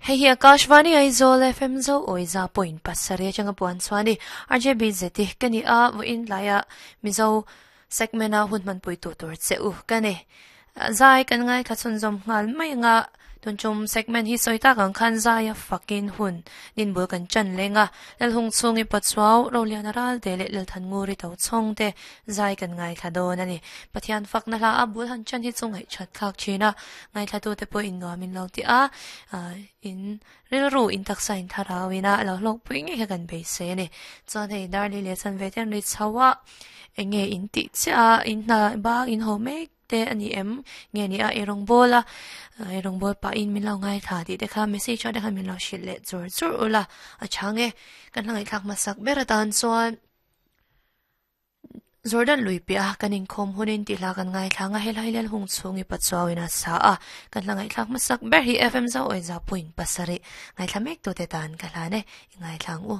Hei hi Akashvani Aizawl FM Zo Awiza point pasarih atanga puan chuan i RJBZ ka ni a, vawiin tlaiah Mizo segment a hun hmanpui tu tur che u ka ni. Zai kan ngaithla chhunzawm nghal mai anga tun tum segment hi sawi tak ang khan zaia fakin hun ninbul kan chan leng a, Lalhung chhungi Pachuau, Roliana Ralte leh Lalthannguri Tochhawng te zai kan ngaithla dawn a ni. Pathian fakna hla a bul han chan hi chu ngaihchat thlak thin a, ngaithlatute pawh in nuam in lo ti a, in rilru in taksa in thlarau in a lo hlawkpui ngei kha kan beisei a ni. Chuan hei Darli leh Chanve te an ri chho a, eng nge in tih chiah a, in hna bang in haw mek te a ni em? Nge ni a ei rawng bawl a, ei rawng bawl pahin min lo ngaithla tih te kha message ah te khan min lo hrilh leh chur chur ula a chhang e. Kan hla ngaihthlak hmasak ber atan chuan Jordan lui piah a kan inkhawm hunin tih hla kan ngaithla ang a, helai Lalhung chhungi Pachuauin a sa a, kan hla ngaihthlak hmasak ber hi FM Zauawiza point pasarih ngaithla mek tute tan ka hlan e, i ngaithla ang u.